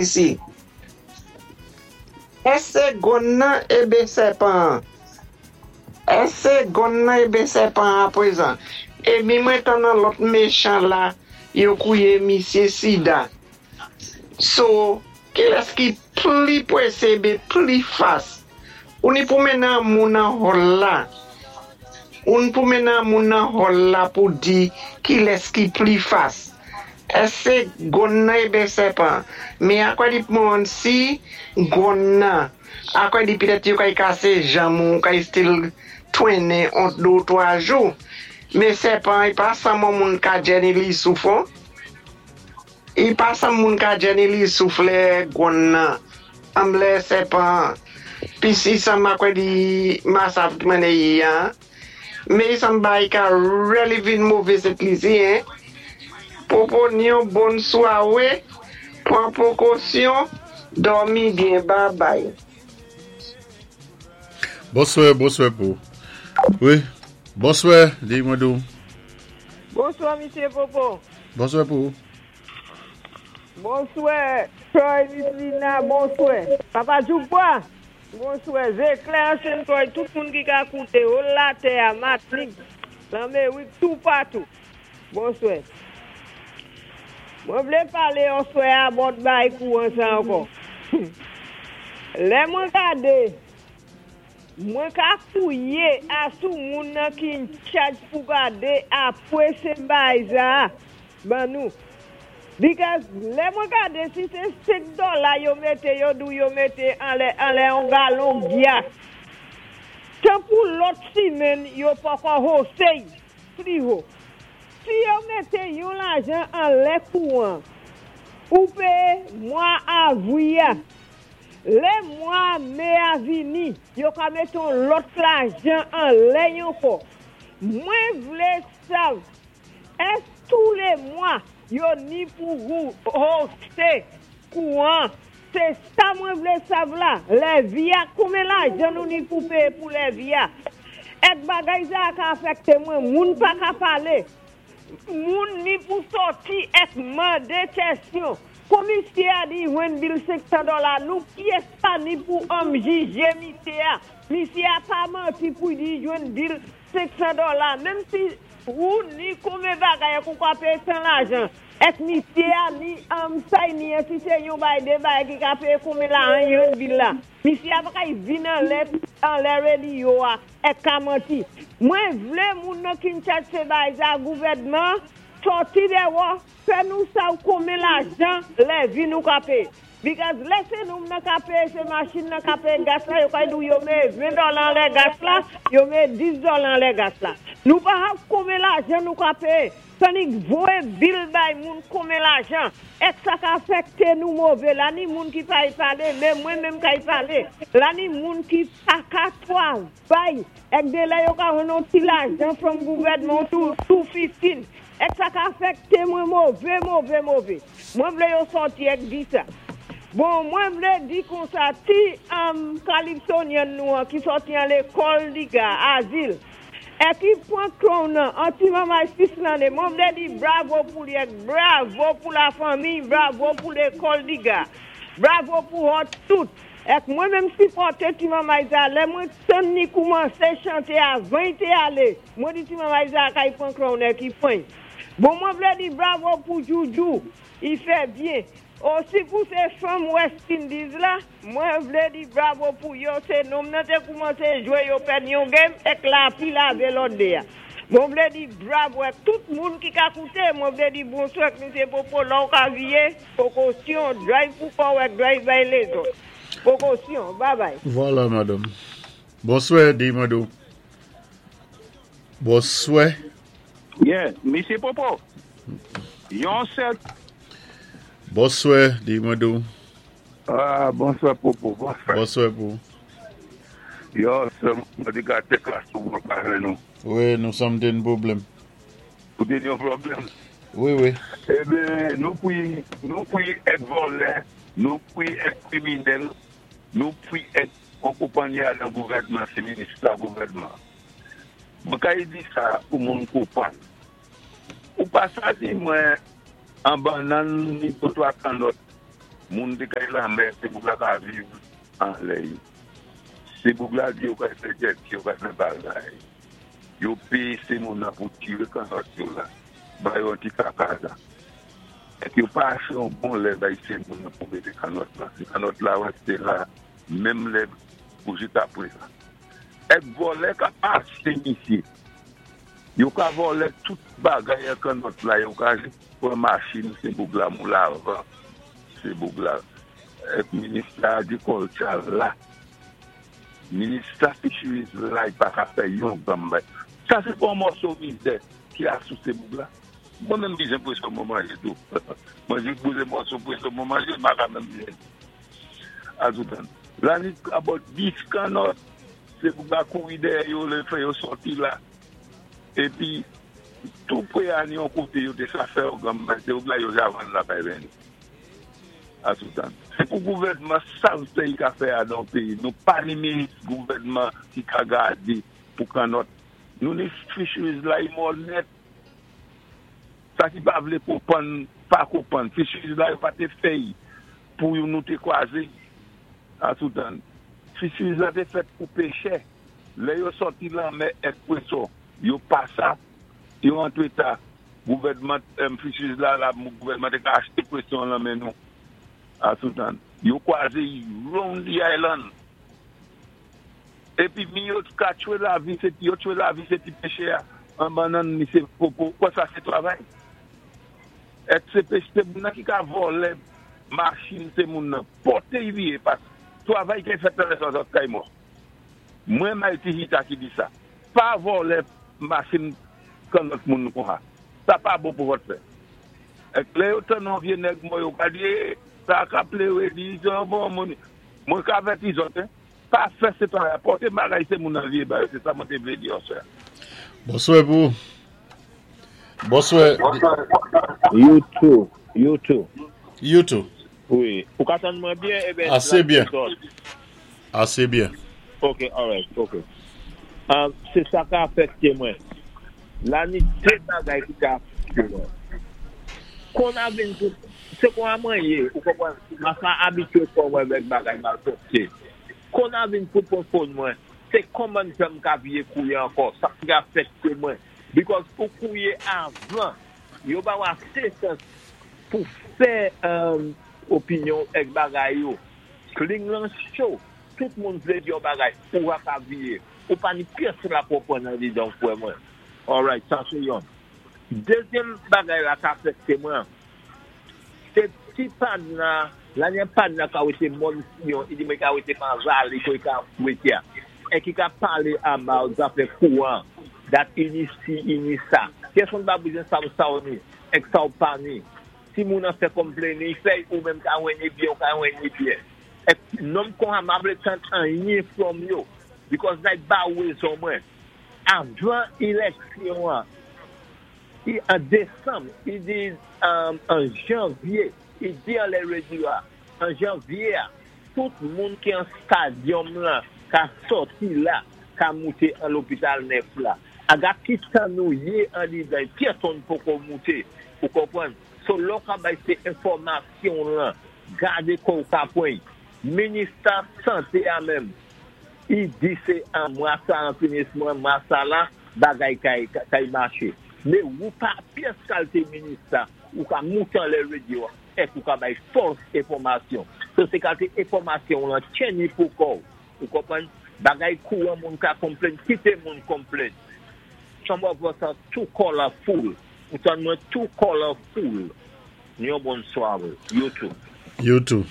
Isi. Èské gonn nan ébe sèpan-an? Èské gonn nan ébe sèpan-an apwézan? Ébi mwen tann an lòt méchan la yo kouwé misyé sida. So, kilès ki pli pwésé ébe pli fas? Ou ni pou mennen an moun nan hall la. Ou ni pou mennen an moun nan hall la pou di kilès ki pli fas. Èské gonn nan ébe sèpan? Mé akwè di pou si gonn nan, akwè di pitèt yo kay kasé janm ou kay still twennen on 2 ou 3 jou. Mé sèpan i pa sanm on moun ka djè ni li souf on. I pa sanm moun ka djè ni li souf lè gonn nan, anm lè sèpan. Pi si sanm akwè di masav ki mènè yi an. Mé sanm bay ka really vin mové Sent Lisi, hein. Popo ni yon bon swawé, pwan pwékosyon, dòmi byen, bye bye. Bonswè, bonswè pou. Wi, bonswè, di mwen dou. Bonswa, Misyé Popo. Bonswè pou. Bonswè, Troy, Miss Lina, bonswè. Papa Djoukwa, bonswè. Zéklè, Ansyen Troy, tout moun ki ka kouté, ou latè a, Matnik, Lanmérik, tou patou. Bonswè. Mwen vlé palé oswè a bòt bay kouwan sa ankò. Lè mwen gadé, mwen ka kouyé a sou moun nan ki in charge pou gadé apwé sé bay sa ban nou. Because lè mwen gadé si sé 5 dola yo mété yo dou yo mété anlè anlè on galon gyas. Tan pou lòt simenn yo poko hausse pli ho. Si yo mété yon lajan anlè kouwan, ou péyé mwa avwi a. Lè mwa mé a vini, yo ka mété yon lòt lajan anlè ankò. Mwen vlé sav, èské tou lé mwa yo ni pou hausse kouwan? Sé sa mwen vlé sav la, levy a, konbyen lajan nou ni pou péyé pou levy a? Èk bagay sa ka afèkté mwen, moun pa ka palé. Moun ni pou sòti èk mandé kèsyon. Kon misyé a di jwenn bill 500 dola, nou pyès pa ni pou an jijé misyé a. Misyé a pa manti pou di jwenn bill 500 dola, menm si ou ni konbyen bagay èk ou ka péyé san lajan. Èk misyé a ni an say ni an si sé yon bay dé bay ki ka péyé konbyen lajan jwenn bill la. Misyé a pa kay vin anlè anlè radio a èk ka manti. Mwen vlé moun nan ki in charge sé bay sa gouvèdman sòti dèwò fè nou sav konbyen lajan levy nou ka péyé. Because lè sé nou nan ka péyé sé machin nan ka péyé gas la yo kay dou yo méyé 20 dola anlè gas la, yo méyé 10 dola anlè gas la. Nou pa hav konbyen lajan nou ka péyé. Tandik voyé bill bay moun konbyen lajan. Èk sa ka afèkté nou mové la ni moun ki pa y palé, mé mwen menm ka y palé. La ni moun ki pa ka twavay. Èk dé lè yo ka jwenn yon ti lajan from gouvèdman tou 215. Èk sa ka afèkté mwen mové, mové, mové. Mwen vlé yo sòti èk di sa. Bon, mwen vlé di konsa ti Calypsonian nou an ki sòti an lékòl di ga, azil. Èk i pwan crown nan, an ti manmay 6 lanné, mwen vlé di bravo pou li èk bravo pou la fanmi, bravo pou lékòl di ga. Bravo pou hot tout. Èk mwen menm sipòté ti manmay sa, lè mwen tann ni koumansé chanté avan i té alé, mwen di ti manmay sa kay pwan crown èk i pwan. Bon mwen vlé di bravo pou Juju, i fè byen. Osi pou sé fanm West Indies la, mwen vlé di bravo pou yo, sé nonm nan té koumansé jwé yo pèd yon game èk lapli lavé lòt dé a. Mwen vlé di bravo èk tout moun ki ka kouté, mwen vlé di bonswa èk Misyé Popo lò ou ka viye, pwékosyon, drive pou kòw èk drive bay lézòt. Pwékosyon, bye bye. Vwala, madam. Bonswè, di mwen dou. Bonswè. Yeah, Misyé Popo. Yon sèl. Bonswè, di mwen dou. Ah, bonswè Popo, bonswè. Bonswè pou. Yo, sè mwen di gate klas pou mwen pa jwenn nou. Wi, nou sanm té yon pwoblèm. Ou té yon pwoblèm? Wi. Eben, nou pwi, nou pwi èk vòlè, nou pwi èk kriminèl, nou pwi èk on konpanyi a nan gouvèdman, sé minis la gouvèdman. Mwen kay di sa pou moun konpwann. Ou pa sa di mwen an bannann ni botwa kannòt. Moun té kay lanmè, sé boug la ka viv anlè yo. Sé boug la di yo kay fè jèt, yo kay fè bagay. Yo péyé sé moun nan pou tiré kannòt yo la, ba yo yon ti kaka la. Èk yo pa aché yon bon lè bay sé moun nan pou mété kannòt la. Sé kannòt la résté la menm lè pou jikaprezan. Èk vòlè ka pasé misyé. Yo ka vòlè tout bagay an kannòt la, yo ka jis pran machin sé boug la moulavan sé boug la. Èk minis la agrikòlti a la. Minis la fisheries la li pa ka fè yon granm bagay. Sa sé pa yon mòso mizè ki a sou sé boug la. Mwen menm bezwen pweson mwen manje tou. Mwen jis boule mòso pweson mwen manje, m pa ka menm byen. Azoutan. La ni about 10 kannòt, sé boug la kouri dèyè yo lè fè yo sòti la. Épi tou pré a ni yon koté yo té sa fè yon granm bagay, sé boug la yo ja vann la bay vèni. Azoutan. Sé pou gouvèdman sav sa i ka fè a dan péyi. Nou pa ni minis gouvèdman ki ka gadé pou kannòt. Nou ni fisheries la i mò nèt. Sa ki pa vlé konpann, pa konpann. Fisheries la yo pa té fè i pou nou té kwazé Azoutan. Fisheries la té fèt pou péchè. Lè yo sòti lanmè èk pweson, yo pasa, yo antré ta. Gouvèdman fisheries la la gouvèdman té ka achté pweson lan men nou. Azoutan. Yo kwaze i round the island. Épi mi yo ka tchwé lavi sé yo tchwé lavi sé ti péchè a an bannann mi sé popo. Kwè sa sé travay? Èk sé péché sé moun nan ki ka vòlè machin sé moun nan pòté i vié pas travay ki fèt nan lè sa zòt kay mò. Mwen Mighty Hita ki di sa. Pa vòlè machin kan lòt moun konsa. Sa pa bon pou vòt fè. Èk lè yo tann yon vyé nèg mò yo ka di ee sa ka pléwé di se yon bon moun. Mwen ka avèti zòt hein. Pa fè se travay a pòté bagay se moun nan vye ba yo se sa mwen té vlé di answè. Bonswè pou ou. Bonswè. You too, you too. You too. Wi. Ou ka tann mwen byen eben Ase byen. Ase byen. Ok, alright, ok. Se sa ka afekte mwen. La ni de bagay ki ka afekte mwen. Kon a vin pou, se kon a mwen ye, ou konprann, ma sa abitye kò mwen vèk bagay malpwòpte. Kon a vin pou pran phone mwen, se kòman jan m ka vye kouye ankò, sa ki afekte mwen. Because ou kouye avan, yo ba ou ase chans pou fè opinyon èk bagay yo. Kling lan cho, tout moun vlé di yon bagay, ou va ka vye. Ou pa ni pyès la pou w pran nan lidan w kwè mwen. Alright, sa sé yonn. Dezyèm bagay la ka afekte mwen, sé ti padna, la ni padna ka wété mòn Siyon, i di mwen ka wété pa vale koé ka wété a, è ki ka palé about zafè kouran, dat ini si, ini sa. Pèsonn pa bezwen sav sa w ni, èk sa w pa ni. Si moun an fè complain, i fè ou menm ka jwenn i byen, ou ka jwenn i byen. Èk nonm konsa m pa vlé tann anyen from yo, because like ba ou rezon mwen. Avan éléksyon an, i an désanm, i di an janvyé, i di anlè radio a, an janvyé a, tout moun ki an stadium lan ka sòti la, ka mouté an lopital nèf la. Aga ki tan nou yé andidan, pèsonn poko mouté, ou konprann? So lò ka bay sé enfòmasyon lan, gadé kò ou ka pran. Minista santé a menm, i di sé an mwa sa an finisman mwa sa la, bagay kay kay maché. Mé ou pa pyès kalité minista, ou ka mouté anlè radio a, èk ou ka bay false enfòmasyon. So sé kalité enfòmasyon lan tchenni pou kò ou. Ou konprann? Bagay kouran moun ka complain, kité moun complain. Some of us are too colorful. Ou tann mwen too colorful. Yon bonne soirée. You too. You too.